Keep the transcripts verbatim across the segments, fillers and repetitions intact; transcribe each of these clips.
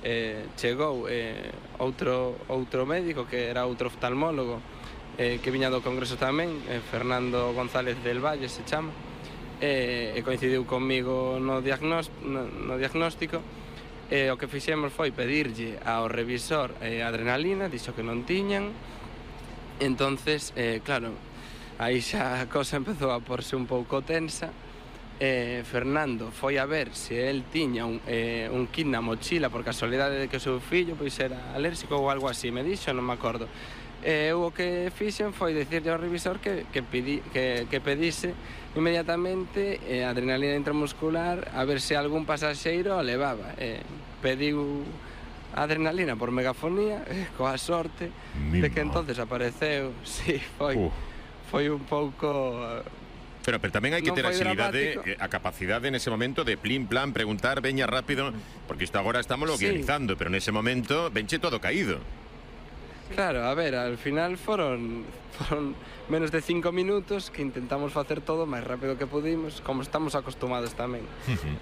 eh, chegou eh, outro, outro médico que era outro oftalmólogo eh, que viña do Congreso tamén, eh, Fernando González del Valle se chama, eh, e coincidiu comigo no, diagnós, no, no diagnóstico. E o que fixemos foi pedirlle ao revisor eh, adrenalina, dixo que non tiñan. Entonces, eh, claro, aí xa a cosa empezou a porse un pouco tensa. Eh, Fernando foi a ver se el tiña un, eh, un kit na mochila por casualidade de que o seu fillo pois era alérxico ou algo así, me dixo, non me acordo. E eu o que fixen foi dicirlle ao revisor que, que, pidi, que, que pedise inmediatamente eh, adrenalina intramuscular a ver se algún pasaxeiro a levaba. Eh, pediu adrenalina por megafonía, eh, coa sorte Mima. de que entonces apareceu. Sí, foi, uh. foi un pouco... Pero, pero tamén hai que ter agilidade, a capacidade nese momento de plim, plan, preguntar, veña rápido, porque isto agora estamos lo guionizando, sí. pero nese momento venche todo caído. Claro, a ver, al final foron, foron menos de cinco minutos que intentamos facer todo o máis rápido que pudimos, como estamos acostumados tamén.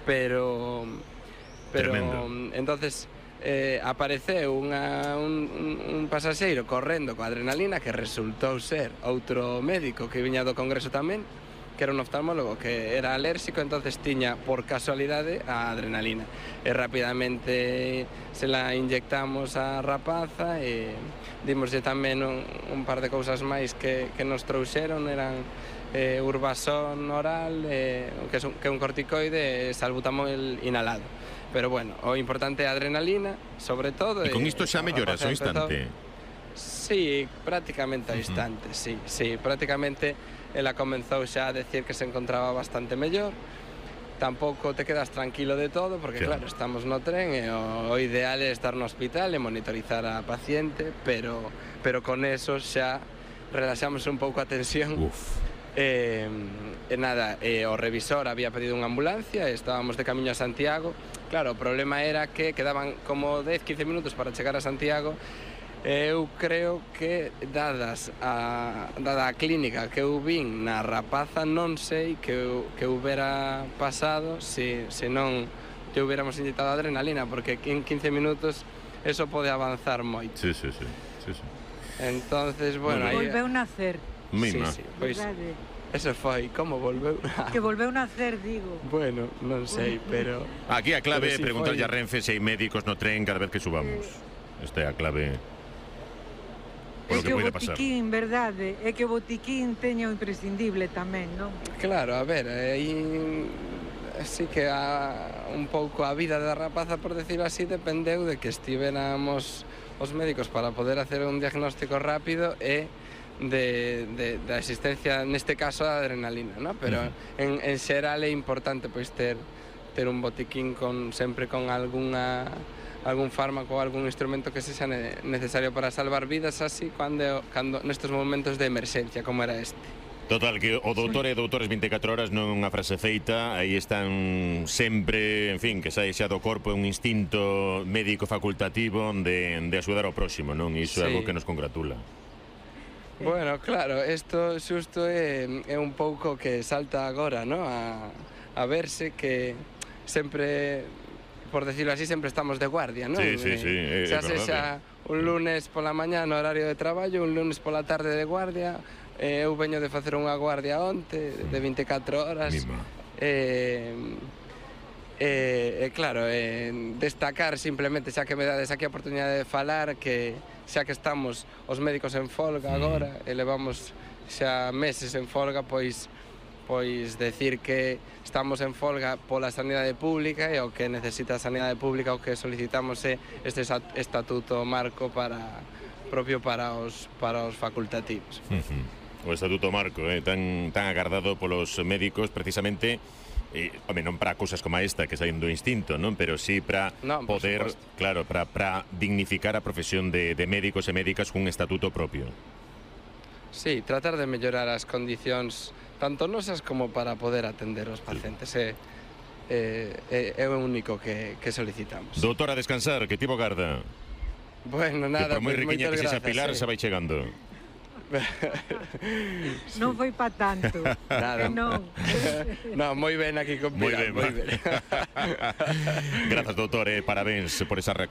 pero... pero Tremendo. Entonces... Eh, apareceu unha, un, un, un pasaxeiro correndo coa adrenalina que resultou ser outro médico que viña do Congreso tamén, que era un oftalmólogo que era alérxico, entonces tiña por casualidade a adrenalina e rapidamente se la inyectamos a rapaza e dimoslle tamén un, un par de cousas máis que, que nos trouxeron, eran eh, Urbasón oral, eh, que, é un, que é un corticoide, e salbutamol inhalado. Pero bueno, o importante é a adrenalina, sobre todo. E con isto xa melloras ao instante? Sí, prácticamente ao instante, uh -huh. sí, sí, prácticamente ela comenzou xa a decir que se encontraba bastante mellor. Tampouco te quedas tranquilo de todo, porque claro, claro estamos no tren e o, o ideal é estar no hospital e monitorizar a paciente, pero, pero con eso xa relaxamos un pouco a tensión. Uf. E, e nada, e o revisor había pedido unha ambulancia e estábamos de camiño a Santiago. Claro, o problema era que quedaban como dez, quince minutos para chegar a Santiago. Eu creo que, dadas a, dada a clínica que eu vin na rapaza, non sei que eu, que houbera pasado se, se non te hubiéramos inyectado adrenalina, porque en quince minutos eso pode avanzar moito. Sí, sí, sí, sí, sí. Entonces, bueno... Aí... Volveu nacer. Mima. Sí, sí, pois... Eso foi, como volveu? Que volveu nacer, digo. Bueno, non sei, pero... Aquí a clave é preguntarlle a Renfe se hai médicos no tren cada vez que subamos. Esta é a clave por o que pode pasar. É que o botiquín, verdade, é que o botiquín teña o imprescindible tamén, non? Claro, a ver, aí... Así que a, un pouco a vida da rapaza, por decirlo así, dependeu de que estiveramos os médicos para poder hacer un diagnóstico rápido e de, de, de existencia, neste caso, da adrenalina, ¿no? Pero uh-huh. en, en xeral é importante pois ter ter un botiquín con sempre con algunha algún fármaco ou algún instrumento que sexa necesario para salvar vidas, así cando, cando nestes momentos de emerxencia como era este. Total, que o doutor e doutores vinte e catro horas non é unha frase feita, aí están sempre, en fin, que sai xa do corpo un instinto médico facultativo de, de axudar ao próximo, non? Iso sí. É algo que nos congratula. Bueno, claro, isto xusto é, é un pouco que salta agora, ¿no? A, a verse que sempre, por decirlo así, sempre estamos de guardia, ¿no? Sí, sí, sí, é, xa se xa un lunes pola mañá no horario de traballo, un lunes pola tarde de guardia. Eh, eu veño de facer unha guardia onte de vinte e catro horas. E eh, eh, claro, eh, destacar simplemente, xa que me dades aquí a oportunidade de falar, que xa que estamos os médicos en folga agora e levamos xa meses en folga, pois pois decir que estamos en folga pola sanidade pública e o que necesita a sanidade pública, o que solicitamos é este estatuto marco para propio para os para os facultativos. Uh-huh. O estatuto marco, eh, tan, tan agardado polos médicos precisamente, eh, home, non para cousas como esta que saen do instinto, non? Pero sí para no, poder, claro, para, para dignificar a profesión de, de médicos e médicas cun estatuto propio. Sí, tratar de mellorar as condicións tanto nosas como para poder atender os pacientes. É, é, é o único que, que solicitamos. Doutora, a descansar, que tivo garda. Bueno, nada, que por moi riquiña que sexa Pilar, se vai chegando. Non foi pa tanto. Nada. Non. No, moi ben aquí con Pilar. Moi ben. Grazas, doutor, eh, parabéns por esa reacción.